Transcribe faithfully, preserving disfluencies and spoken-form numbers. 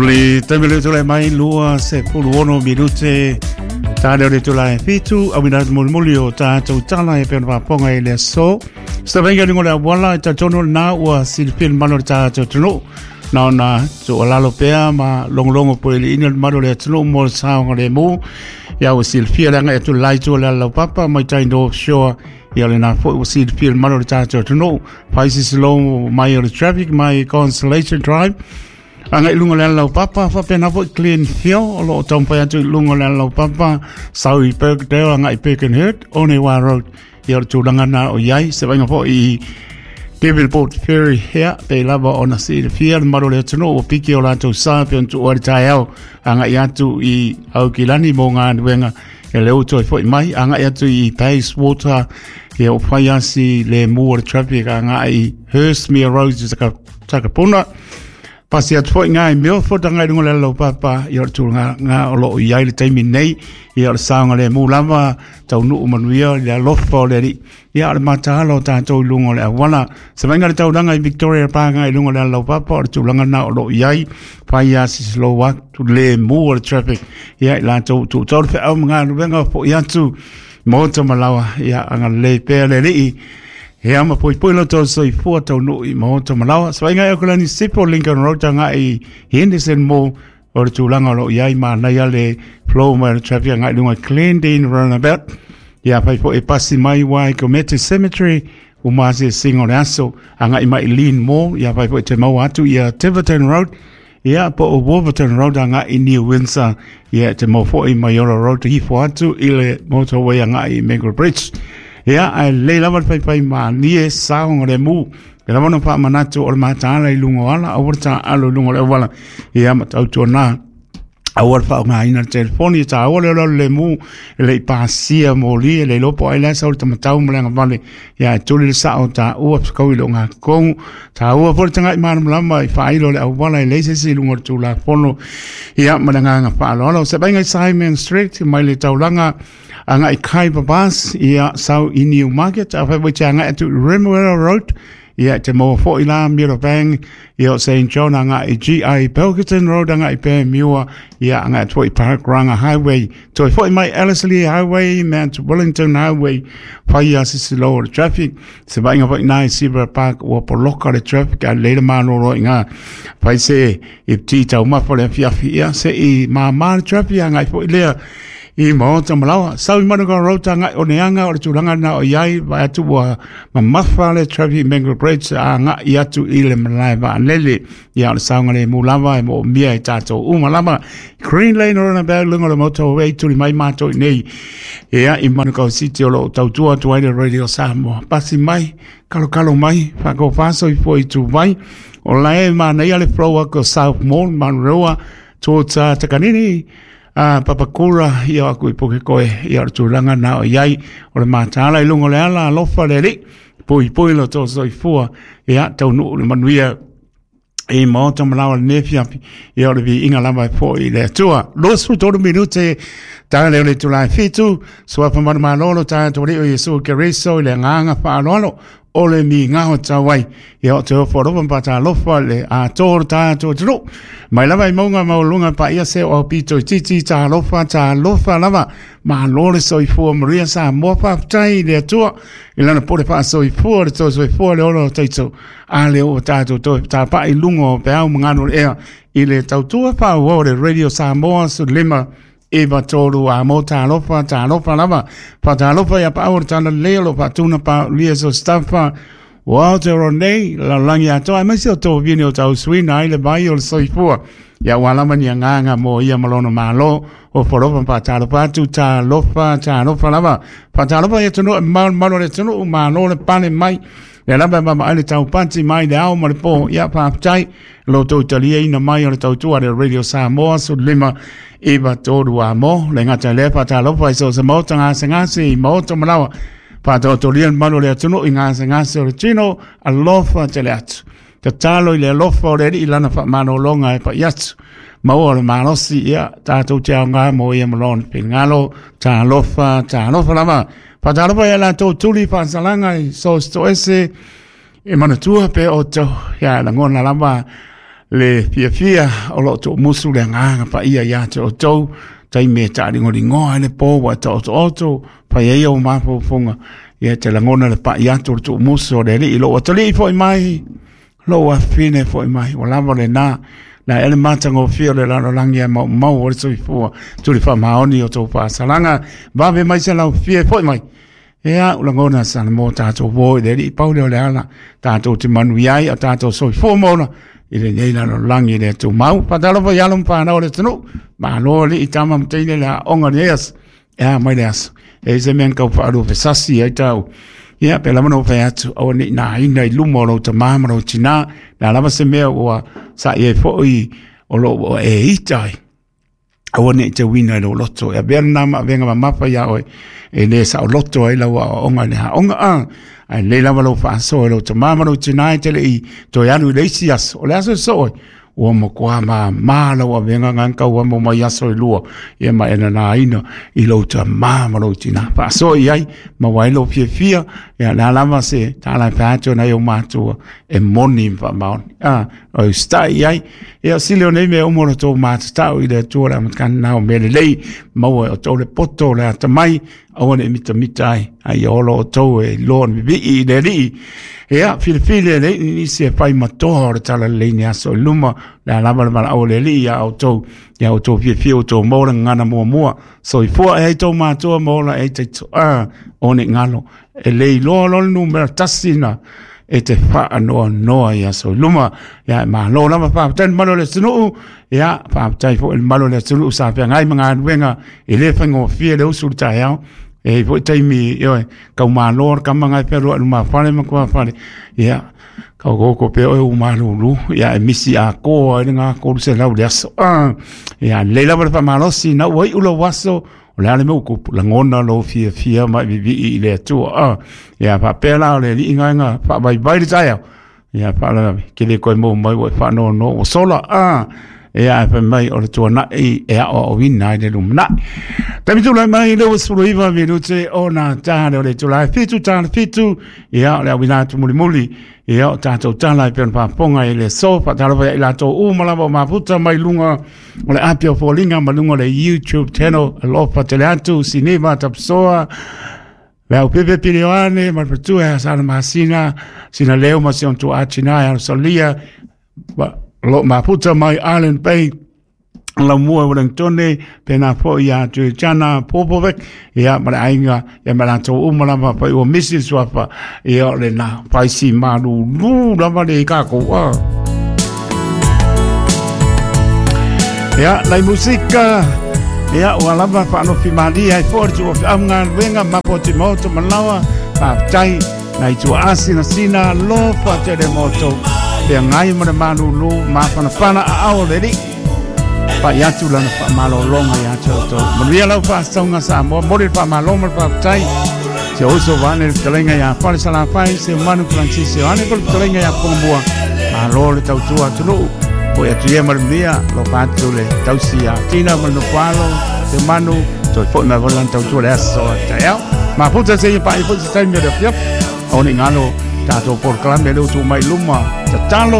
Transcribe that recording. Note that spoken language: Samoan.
Le taimi le tole mai lua se pulu ono minute tā leo le tula e fitu au ina mulimuli o tātou tala e pena whaponga i le so. Sa venga lungo le awala e tatono nā ua silipil mano le tātou tunu. Nā ona tu alalo pea ma longolongo po ili ina mano le tunu mo le saonga le mū. Ia ua silipia le anga e tu lai tu le alau papa mai tai North Shore. Ia le nā foi ua silipia le mano le tātou tunu. Paisi slow mai o le traffic mai Constellation Drive. Anga i lunga le alau papa, whapena foi Glen Hill, o loo taumpai atu i lunga le alau papa, sau i Birkdale, anga i Birkenhead, Onewa Road, ia o le tūlanga nā o iai, se vainga foi i Devonport Ferry hea, pe lava o na si le fia, le maro le atunu, o piki o lātou sa, pe on tu oa le tai au, anga i atu i Aukilani mō ngā nuenga, e le uto e foi mai, anga i atu i Bayswater, ia o whaiasi le mua le traffic, anga i Hurstmere Road, i Takapuna, Pasi atu foi ngā i Milford anga i lunga le alau papa i o le tūlanga ngā o loo i ai le taimi nei i o le saonga le mū lava tau nuu manuia le alofa o le ri ia o le matahala o tātou i lunga o le awala. Se vainga le taulanga i Victoria Park i lunga le alau papa o le tūlanga nā o loo i ai pai a sisilo atu le mū o le traffic ia i lātou tūtau le wheau mga nuwenga po i atu mōta malawa ia anga le pea le lii. He ama poi poi lo tau soifua tau nuu i mahoto malawa. Sa vainga e okulani sipo Lincoln Road anga i Henderson Mall o le tūlanga o lo iai mānai ale flow mai le traffic anga i lunga Glendene Roundabout. Ia pai po e pasi mai wai Komete Cemetery o maase singo le aso anga i mai Lean Mall. Ia pai po e te maua atu ia Tiverton Road. Ia po o Wolverton Road anga i New Windsor. Ia te mau foi Maiora Road hifo atu i le motorway anga i Mango Bridge. Ia, ai le lava le pai ma nie saonga le mū. E lava no wha manatu o le mataala i lunga o ala, au ta alo i lunga o le awala. Ia, ma tautua nā. Au le wha o ngā ina le telefoni, ta au le le mū, e le i pāsia mō li, e le lopo ai lasa o le tamatau ma le anga vale. Ia, e tuli le sao ta ua psakau i lo ngā kongu. Ta ua po le tanga i mānamalama i whailo le awala i leise si lunga o le tūla pono. Ia, ma le ngā ngā whaalo. Se bainga i Simon Street, mai le taulanga, anga i Khyber Bus, ia sau i New Market, a whai te anga atu Remuera Road, ia te moa foi la Mirabang, ia o Saint John anga i G I Pilkington Road, anga i Panmure, ia anga atu i Parkranga Highway, toi foi mai Ellerslie Highway, Mount Wellington Highway, whai a sisilo o le traffic, se vainga foi nai Sibra Park, ua poloka le traffic, a leila mānoro i ngā, whai se i pti tau mafa le afiafi, ia se i māmā le traffic, anga i foi lea, i maota malawa. Sau i Manukau Road anga o neanga o le tūlanga na o iai vai atu ua mamafa le traffic Mango Bridge a nga i atu i le malae vaanele. Ia o le saonga le mūlava e mo mia i tātou umalama. Green Lane Roundabout lunga le motorway tuli mai mātou i nei. Ia i Manukau City o lo tautua atu ai le Radio Samoa. Pasi mai, kalo kalo mai, whako whaso i po i tū mai. O lae mānei ale flow ako South Mall, Manrewa, tōta Takanini. Ah, Papakura, ia aku i poke koe, ia o le tūlanga nā o iai, o le mātāla i lunga le ala, alofa le li, pui pui lo tō soifua, ia tau nuu le manuia, i maota malawa le nefiafi, ia o le vi inga lava e po i le atua. Losu tolu minute, tā leo le tūlai fitu, suafa manu malolo, tā tō leo Yesu Keriso, i le ngānga whaaloalo, o le mi ngaho tawai. Ia o te ofo ropa pa lofa le a tōru tā tō turu. Mai lava i maunga maulunga pa ia se o pito i titi tā lofa tā lofa lava. Ma lore soifua maria sa moa whaftai le atua. I lana pore pa soifua le tō soifua le oro taito. A le o tātou tō tā pa i lunga o pe au mangano le ea. I le tautua pa o le Radio Samoa su lima. Eva tōru a mō tā lofa, tā lofa lava. Pa tā lofa ia pa aur tāna leo pa tūna pa lia so staffa. O Aotearoa nei, la langi atoa, ai maisi o tō vini o tau suina ai le vai o le soifua. Ia walama ni nganga mō ia malono mālo, o whoropa pa tā lofa atu, tā lofa, tā lofa lava. Pa tā lofa ia tunu, malo malo le tunu, malo le pane mai. Le lava mama ai le tau pati mai le ao ma le pō, ia pāptai, lo tau talia ina mai o le tautua le Radio Samoa, su lima iwa tōru a mō, le ngata le pa tā lofa i so se mōta ngā se ngā i mōta malawa, pa tō tō manu le atunu i ngā se ngā se o le tino, alofa te le atu. Te tālo i le alofa o le ri i lana wha manolonga e pa i atu. Maua o le malosi ia, tātou te ao ngā mō ia malone pingalo, tā alofa, tā alofa lava. Pa tā alofa ia la tō tuli whansalanga i so sto ese, e manatua pe o tau, ia langona lava, Le fiafia o loo tuumusu le agaga paia iā te outou taimi e taaligoligoa ai le po ua e taotooto fai ai ou mafaufauga ia te lagona le pa'i atu o le tuumusu o le Alii lou atalii fo'i mai lou afafine fo'i mai ua lava lenā la ea le matagofie o le lalolagi ae maumau o le soifua tuli faamaoni o tou faasalaga vave mai se laufie fo'i mai. Ia ua lagona sa mo tatou uō i le Alii pau lea o le ala tatou te manuia ai a tatou soifua ma ola i lenei lalolagi le tumau. Faatalofa i alo ma fanau o le atunuu, malo alii tama ma teine le aoga i lenei aso, e a mai le aso. E i se mea na tau faalupesasi ai tau. Ia, pe lava na ou fai atu, aua ne i naina i luma o lou tamā ma lou tinā, le a lava se mea ua sa'i ai foi o lo o e ita ai. Aua ne i tauina i lou loto. E avea lena ma avega mamafa iā oe, e le saoloto ai lau aoaoga i le aoga a. Ae lelei lava lou faasoa i lou tamā ma lou tinā e te le i toe alu i le isi aso. O le aso e soo ai, ua matua māmā lau avega na tau amo mai aso e lua, ia ma e nanaina i lou tamā ma lou tinā. Faasoa i ai, maua ai lou fiafia, ia le a lava se tala e fai atu nai ou matua e moni ma faamaoni. A, o usitai i ai, ia sili o nei mea uma o le tou matatau i le Atua le amataga na o mea lelei, maua e outou le poto o le atamai, aua ne i mitamita ai, a ia ola outou e iloa ni vivii i le Alii. Ia, filifili e le nisi e fai matoa o le talalelei ni aso i luma, le a lava le valaau a le Alii ia outou, ia outou fiafia outou maua le gagana muamua, soifua e ai tou matua ma ola e ai taitoa o ne i galo, e le iloa loa le numera tasi na e te faanoanoa i aso i luma. Ia, e malo lava, faafetai le mamalu o le atunuu, ia, faafetai foi i le mamalu o le atunuu sa feagai ma galuega e le faigofie le usu i le taeao. E i ai foi taimi, ioe, tau malo le kama na e fealuai i lumafale ma tuafale, ia, tau pea oe ua malulu, ia, e misi atoa ai lena tolu selau i le aso. Ah, ia, lelei lava le faamalosi, na ua iu lou aso, o le a le mea ua tupu, lagona lou fiafia ma e vivii i le Atua. Ah, ia, faapea la o le alii gaega faavaivai le taeao, ia, faalavelave, ke le toe maua mai ua e faanoanoa ua sola. Ah, ia, ae fai mai o le tuanai e aoaoina ai le lumanai. Taimi tulai mai le ua sefulu iva minute ona ta le o le itula e fitu ta le fitu, ia, o le auina atu mulimuli, ia, o tatou tala e pei ona faafofoga i le aso. Faatalofa ia i latou uma lava o mafuta mai luga o le api o foliga ma luga o le YouTube channel. Alofa tele atu Sineva Tapsoa, le au pepe Pilione ma le fatua ia Sana Masina, Sina Leo ma si ona tuaa tina e Alosalia, lo mafuta mai Island Bay, Laumua Wellingtone, pena foi ia Tuichana Popovic, ia ma le aiga, ia ma latou uma lava pai ua misi le suafa, ia o le na faisi malulu lava le kākou. Ah. Ia, nai musika, ia, ua lava faanofi malie ai foi le tua feaugaluega mapo te maoto malawa, faafetai, nai tua asinasina, alofa tele mo outou, feagai ma le malulu, mafanafana aao o le Alii. Pai atu lana faamalologa iā te outou. Manuia lau faasauga Samoa, momoli le faamalo ma le faafetai. Se uso vaeane le fetalaiga iā Fale Salafai, se Manu Francis Ioane po le fetalaiga iā Pongamua. Malo le tautua atunuu. Foi atu ia ma le manuia, alofa atu le tausi iā Tina ma le Nofoalo, se Manu, toe foi mai foi lana tautua le aso a taeao. Mafuta seia paia foi se taimi o le afiafi. Aua ne i galo tatou polokalame lea ua tuu mai i luma, tatalo.